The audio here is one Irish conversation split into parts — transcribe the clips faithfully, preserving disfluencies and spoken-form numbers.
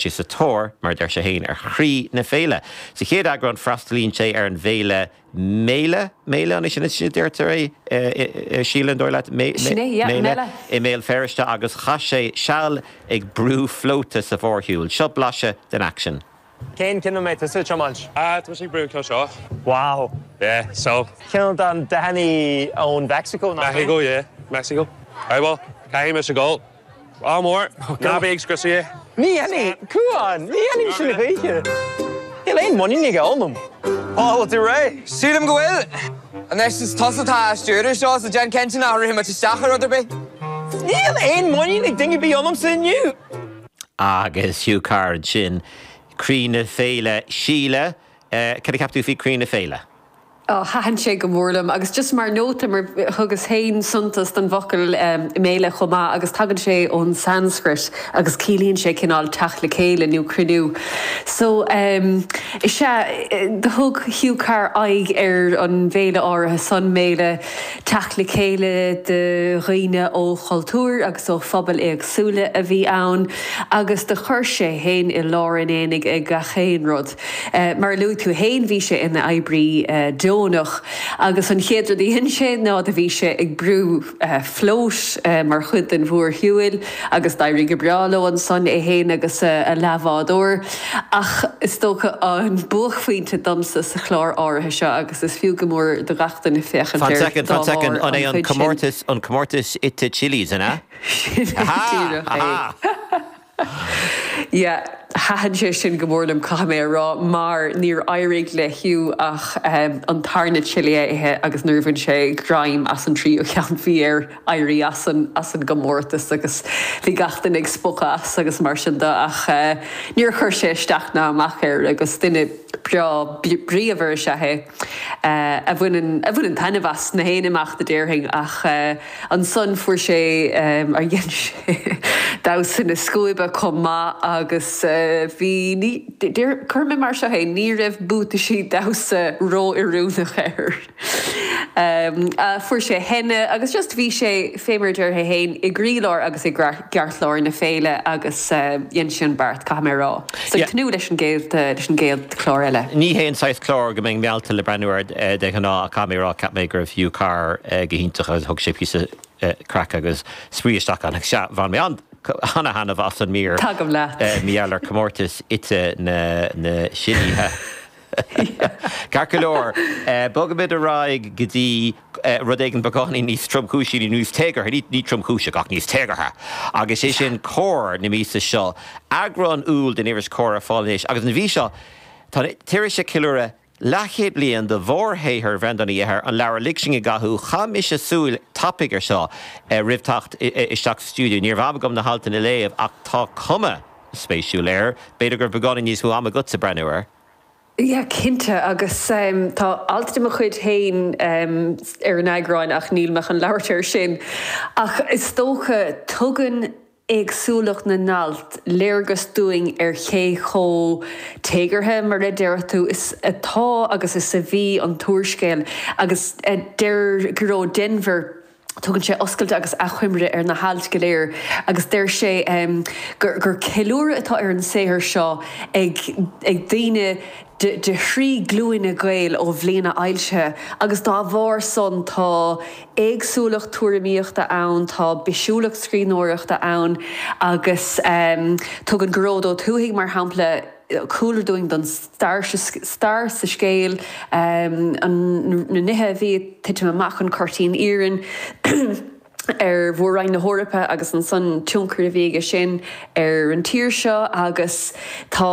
sé sa tóir, mar deir sé féin, ar chroí na féile. Sa chéad eagrán freastalaíonn sé ar an bhféile Méile méile an sin sin deirtear é sílan dóir leat méile i mBéal Feirste agus chaith sé seal ag brú flóta sa mhórshiúl. Seo blaiseadh den aicsean. Cén ceann a mbeidh tusa ag tiomáint? Ah, tá sé brú seo. Wow. Yeah, so. Ceann den dathanna ón Mexico Mexico, yeah, Mexico. Right, well, caithfidh mise gabháil. Ádh mór, ná bí ag scriosadh. Ní ní cuan, ní ní sin réige. Níl aon muinín aige ionam. Á tú réidh? Sílim go bhfuil. Anois is tusa atá á stiúradh seo so déan cinnte nach rithfidh muid isteach ar rud ar bith. Níl aon muinín ag duine ar bith ionamsa inniu. Agus Hugh Carr sin croí na féile Síle, cad a cheap tú faoi croí na féile? Oh, thaitin sé go mór liom agus just mar nóta mar thugas féin suntas don bhfocal um, méile chomh maith agus tagann sé ón Sanskrit agus ciallaíonn sé cineál teacht le chéile nó cruinniú. So um, is ea thug Hugh Carr aghaidh ar an bhféile áirithe san méile teacht le chéile de dhaoine ó chultúir agus ó phobail éagsúla a bhí ann agus do chuir sé féin i lár an aonaigh ag gach aon rud. Uh, mar luaigh tú féin bhí sé ina oibrí uh, deonach agus an chéad rud a dhein sé ná do bhí sé ag brú uh, flót uh, mar chuid den mhórshiúl agus d'éirigh go breá leo ansan é féin agus uh, a leathbhádóir ach is dócha an buaicphointe domsa sa chlár áirithe seo agus is fiú go mór do gach duine féachaint Fan second, fan second, an é an comórtas an comórtas ite chilies an ea? Aha! Yeah, thaitin sé sin go mór liom caithfidh mé a rá mar níor éirigh le Hugh ach um, an tarna chili a ithe agus nuair a bhain sé greim as an tríú ceann bhí air éirí as an, as an gcomórtas agus bhí gach duine ag spochadh as agus mar sin de ach uh, níor chuir sé isteach ná amach air agus duine breá bríomhar is ea é uh, a bhaineann a bhaineann taitneamh as na haon imeacht a déarfainn ach uh, ansan fuair sé um, ar dhein sé damhsa na scuaibe chomh maith agus uh, bhí chuir mé mar seo é ní raibh buataisí damhsa ró-oiriúnach air. Um, uh, fuair sé henna agus just bhí sé fé mar a deir sé féin i gcroílár agus i gceartlár na féile agus uh, dhein sé an beart caithfidh mé a rá. So yeah. tnúth leis an gcéad leis an gcéad chlár eile. Ní hé an saghas clár go mbeinn meallta le breathnú air de ghnáth caithfidh mé a rá cheap mé go raibh Hugh Carr go hiontach agus thug sé píosa craic agus spraoi isteach ann sea bhain mé an an-taitneamh as an mír Tagaim leat. Míall ar comórtas ite na na silíthe. Ceart go leor bogaimid ar aghaidh go dtí rud éigin beagáinín níos tromchúisí níos téagartha ní tromchúiseach ach níos téagartha. Agus sé sin Comhar na míosa seo eagrán Iúil den iris Comhar ar fáil anois agus an mhí seo tá an iris ag ceiliúradh leathchéad bliain de mhórshaothar Bhreandáin Uí Eithir an leabhar Lig Sinn i gCathú chaith mise súil tapaidh air seo roimh teacht isteach sa stiúideo. Ní raibh am agam na haltanna a léamh ach tá cuma spéisiúil air, b'fhéidir gur beagáinín níos mó ama agatsa breathnú air. Yeah, cinnte agus um, tá alt de mo chuid féin um, ar an eagrán ach níl mé chun labhairt air sin. Ach is dócha tugann éagsúlacht na n-alt léargas dúinn ar cé chomh téagartha mar a deir tú is atá agus is a bhí an t-úrscéal agus deir Gearóid Denvir Tugann sé oscailt agus achoimre ar na hailt go léir agus deir sé um, gur, gur ceiliúradh atá ar an saothar seo ag, ag daoine de, de thrí glúine Gael ó bhliain a fhoilsithe agus dá bharr san tá éagsúlacht tuairimíochta ann, tá bisiúlacht scríbhneoireachta ann agus um, tugann Gearóid Ó Tuathaigh mar shampla cúlra dúinn don stair stair sa scéal um, an, na nithe a bhí ag titim amach an Cuirtín Iarainn ar mhór-roinn na hEorpa agus ansan tionchar a bhí aige sin ar an tír seo agus tá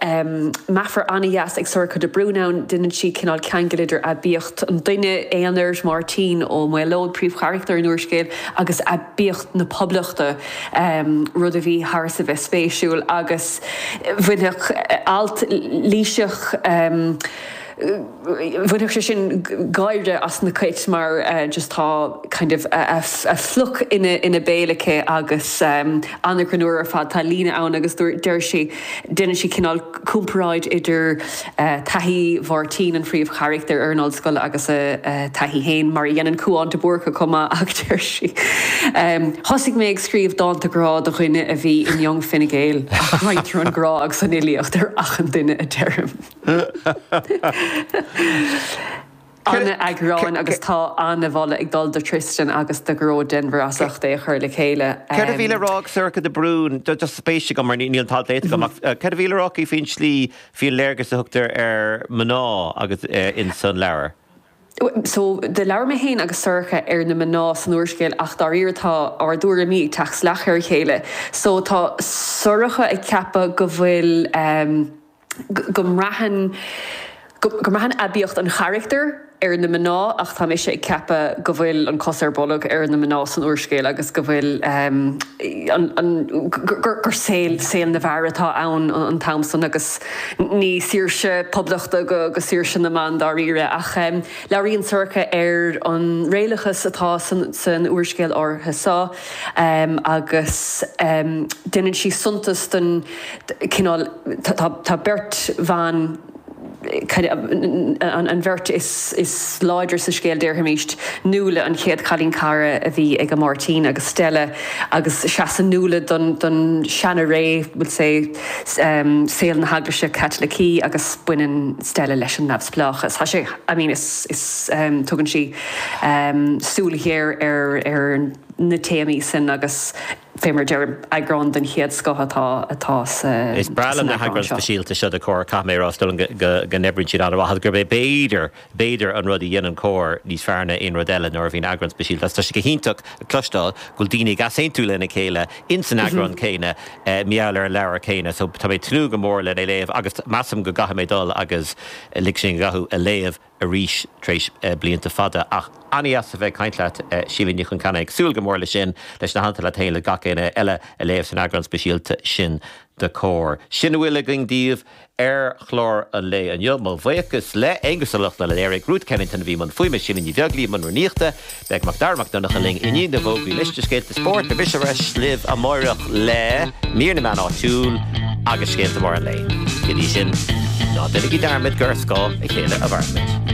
um, meafar an-dheas ag Sorcha de Brún ann déanann sí cineál ceangal idir aibíocht an duine aonair Máirtín Ó Maolóid príomhcharachtar an úrscéil agus aibíocht na poblachta um, rud a bhí thar a bheith spéisiúil agus bhainfeadh alt Laoiseach um, Bhainfeadh sé sin gáire as na cait mar just tá kind of a phluc ina ina béal aici agus an-ghreannmhar ar fad. Tá líne ann agus deir sí, déanann sí cineál comparáid idir taithí Mháirtín, an phríomhcharachtar, ar an ollscoil agus a taithí féin, mar a dhéanann Cúán de Búrca chomh maith ach deir sí, Thosaigh mé ag scríobh dánta grá do dhuine a bhí in Young Fine Gael ach roinntear an grá agus an fhilíocht ar achan duine a deirim. An-eagrán agus tá an-mholadh ag dul do Tristan agus do Ghearóid Denvir as ucht é a chur le chéile. Céard a bhí le rá ag Sorcha de Brún, just spéis agam mar níl an t-alt léite agam, ach céard a bhí le rá aici faoin tslí, faoin léargas a thugtar ar mná agus ins an leabhar? So, do labhair mé féin agus Sorcha ar na mná san úrscéal ach dáiríre tá ár dtuairimí ag teacht salach ar a chéile. So, tá Sorcha ag ceapadh go bhfuil, go mbraitheann, go mbraitheann aibíocht an charachtair ar na mná ach tá mise ag ceapadh go bhfuil an cos ar bolg ar na mná san úrscéal agus go bhfuil an, an, gur, gur saol, saol na bhfear atá ann an t-am san agus ní saoirse poblachta go, go saoirse na mban dáiríre ach labhraíonn Sorcha ar an réalachas atá san, san úrscéal áirithe seo agus déanann sí suntas den cineál, tá, tá beirt bhan, an bheirt is láidre sa scéal, déarfaimis, Nuala, an chéad chailín cara a bhí ag Máirtín, agus Stella, agus seasann Nuala don seana-ré, we'll say, saol na hEaglaise Caitlicí, agus baineann Stella leis an neamhspleáchas. Tá sé, I mean, is, is, tugann sí súil ghéar ar na téamaí sin agus fé mar deirim, eagrán den chéad scoth atá atá sa Is breá liom na heagráin speisialta seo de Comhar, caithfidh mé a rá, is dóigh liom go go n-oibríonn siad an-mhaith agus gurb é b'fhéidir, b'fhéidir an rud a dhéanann Comhar níos fearr ná aon rud eile nuair a bhíonn eagrán speisialta agus tá sé go hiontach cloisteáil go bhfuil daoine ag easaontú lena chéile ins an eagrán céanna mar gheall ar an leabhar céanna so tá mé ag tnúth go mór lena léamh agus measaim go gcaithfidh mé dul agus Lig Sinn i gCathú a léamh arís tar éis blianta fada. Ach an-dheas a bheith ag caint leat, Síle Ní Chonceanainn. Ag súil go mór leis sin, leis na hailt leat féin, le gach éinne eile a léamh san eagrán speisialta sin de Comhar. Sin a bhfuil againn daoibh ar chlár an lae inniu. Mo bhuíochas le Aonghus Ó Lochlainn a léirigh, Ruth Kennington a bhí i mbun fuaime, Síle Ní Bheaglaoí i mbun rúnaíochta. Beidh Macdara Mac Donncha linn i ndiaidh na bhfógraí liosta scéalta spóirt. Beidh mise ar ais libh amáireach le mír na meán áitiúil agus scéalta móra an lae. Go dtí sin, ná déanaigí dearmad gur ar scáth a chéile a mhairimid.